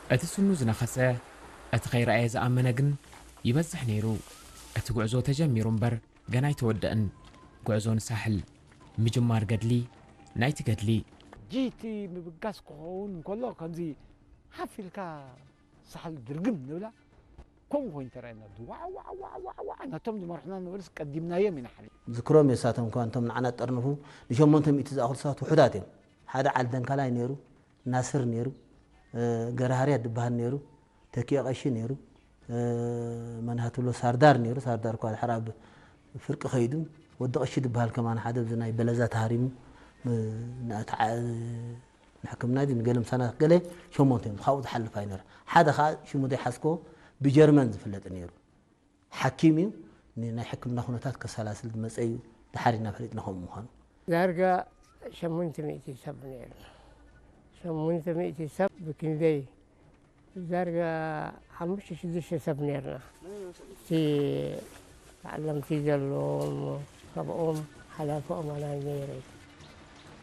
እቲ ስኑ ዝነኸሰ፣ እቲ ከይረኣየ ዝኣመነ ግን ይበዝሕ ነይሩ። እቲ ጉዕዞ ተጀሚሩ እምበር ገና ኣይተወደእን። ጉዕዞ ንሳሕል፣ ምጅማር ገድሊ ናይቲ ገድሊ። ጂቲ ምብጋስ ክኸውን እንከሎ ከምዚ ሓፍ ኢልካ ሳሕል ድርግም ንብላ ከምኡ ኮይኑ ተረኣየና። ዋዕ ዋዕ ዋዕ ዋዕ ዋዕ ነቶም ዝመርሑና ነበርስ ቀዲምናዮም ኢና ሓሊፍ ዝክሮም እየ። እሳቶም ከ እንቶም ንዓና ጠርንፉ ንሸሞንተ ሚእቲ ዝኣኽሉ ሰባት ውሑዳት እዮም። ሓደ ዓሊ ደንካላይ ነይሩ፣ ናስር ነይሩ፣ ገረሃርያ ዝበሃል ነይሩ፣ ተኪኤ ቀሺ ነይሩ፣ መን ሃትብሎ ሳርዳር ነይሩ። ሳርዳር እኳ ድሕር ኣብ ፍርቂ ከይዱ፣ ወዲ ቀሺ ዝበሃል ከማን ሓደ ኣብዚ ናይ በለዛ ተሃሪሙ ንሕክምና ድዩ ንገለ ምሳና ገለ ሸሞንተ እዮም። ካብኡ ዝሓልፍ ኣይነበረ። ሓደ ከዓ ሽሙ ዘይሓዝኮ ብጀርመን ዝፍለጥ ነይሩ። ሓኪም እዩ። ናይ ሕክምና ኩነታት ከሰላስል ዝመፀ እዩ። ድሓር ኢና ፈሊጥና ከምኡ ምዃኑ። ዳርጋ ሸሞንተ ሚእቲ ሰብ ነይርና። ሸሞንተ ሚእቲ ሰብ ብክንደይ ዳርጋ ሓሙሽተ ሽዱሽተ ሰብ ነይርና። እቲ ተዓለምቲ ዘለዎም ካብኦም ሓላፍኦም ኣና ነይረ።